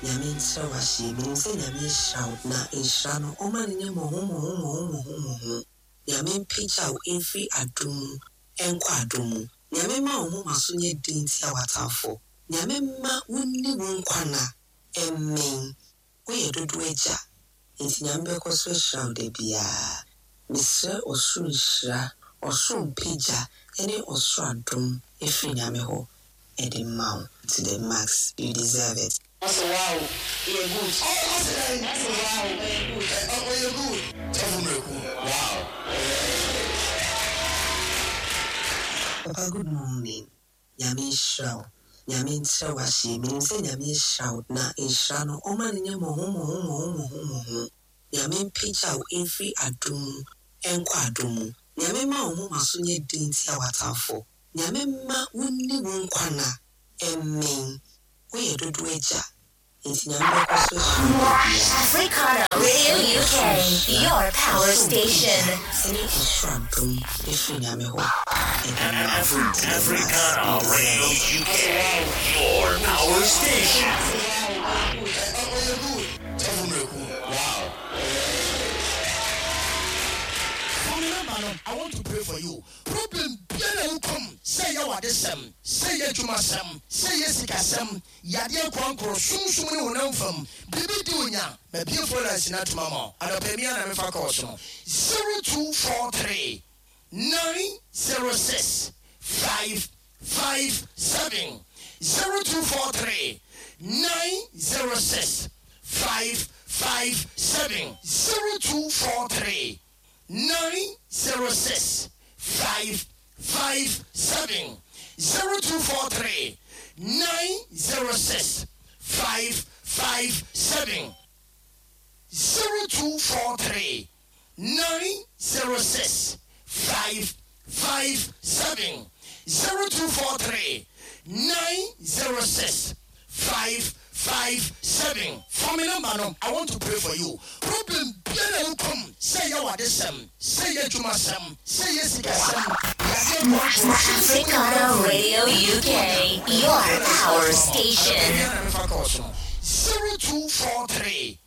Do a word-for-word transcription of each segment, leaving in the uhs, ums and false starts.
Nyame nkyerɛ wo ahyɛ. Menim sɛ Nyame ahyira wo, na nhyira no, ɔma no nyɛ mmɔho mmɔho mmɔho mmɔho mmɔho. Nyame mpagya wo mfiri adom mu ɛnkɔ adom mu. Nyame ma wo moma so nyɛ den tia w'atamfo. Nyame mma wonni wo nkwa na ɛmmɛn. Woyɛ dodo agya, nti Nyame bɛkɔ so ahyira wo da biara. Mesrɛ ɔsoro nhyira, ɔsoro mpagya ne ɔsoro adom ɛfiri Nyame hɔ ɛde ma wo to the max. You deserve it. Ɔsɛ wow, ɔyɛ good. Ɔsɛ dɛn? Ɔsɛ wow, ɔyɛ good. Ɔyɛ good. Sɔfo Miracle, wow. Papa, good morning. Nyame nhyira wo. Nyame nkyerɛ wo ahyɛ. Menim sɛ Nyame ahyira wo, na nhyira no, ɔma no nyɛ mmɔho mmɔho mmɔho mmɔho mmɔho. Nyame mpagya wo mfiri adom mu ɛnkɔ adom mu. Nyame ma wo moma so nyɛ den tia w'atamfo. Nyame mma wonni wo nkwa na ɛmmɛn. Woyɛ dodo agya, nti Nyame bɛkɔ so ahyira wo da biara. Africana Radio U K, your power station. Ɛne ɔsoro adom ɛfiri Nyame hɔ ɛde ma wo Afri- to the max. Africana You deserve Radio it. U K, your power station. Ɔyɛ good. Sɔfo Miracle, wow. Fa me number no, I want to pray for you. Problem biara wo kom, sɛ yɛ wadesɛm, sɛ yɛ adwumasɛm, sɛ yɛ sikasɛm, yadeɛ korankoro, sumsum ne honam fam biribi di onya, mabie phone lines no atoma ma anɔpɛ mi a na mefa kɔɔ so no, zero two four three nine zero six five five seven, zero two four three nine zero six five five seven, zero two four three nine zero six five five seven, zero two four three nine zero six five five seven, zero two four three nine zero six five five seven, zero two four three nine zero six five five seven. Fa me number no, I want to pray for you. Problem biara wo kom, sɛ yɛ wadesɛm, sɛ yɛ adwumasɛm, sɛ yɛ sikasɛm, yadeɛ korankoro. Africana Radio U K, your power station. zero two four three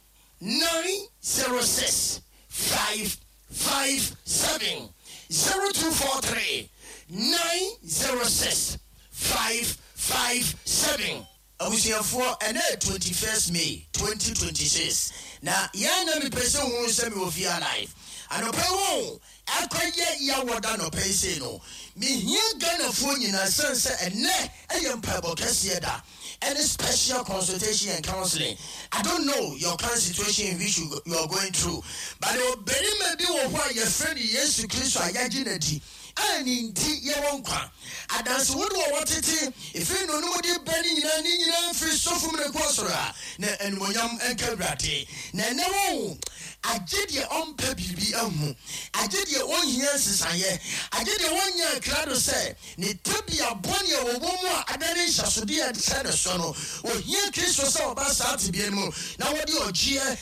nine zero six five five seven, zero two four three nine zero six five five seven. Abusuafoɔ, ɛnɛ twenty-first May twenty twenty-six na yɛn na mepɛ sɛ hu sɛ mewɔ fie alive anɔpɛ wo ɛkɔyɛ yɛwɔda nɔpɛ yi sei no, mehia Ghanafoɔ nyinaa sɛne sɛ ɛnɛ ɛyɛ mpaebɔ kɛseɛ da ɛne special consultation and counseling. I don't know your current situation in which you, you are going through, but ɔbarima bi wɔ hɔ a yɛfrɛ no Yesu Kristo a yɛagye n'adi a ne nti yɛwɔ nkwa. Adanse wode wɔ wɔtete ɛfiri no no mode ba ne nyinaa ne nyinaa mfiri sɔfo mu ne kɔɔ soro a na animonyam nka Awurade. Na ɛnɛ wo agye deɛ ɔmpɛ biribi ahu, agye deɛ ɔnhia nsesaeɛ, agye deɛ wɔnyɛ akrado sɛ ne tebea bɔne a wɔwɔ mu a adane nhyɛsodeɛ a ɛhyɛ ne so no, ohia Kristo sɛ ɔba saa tebea no mu na wɔde ɔgyeɛ.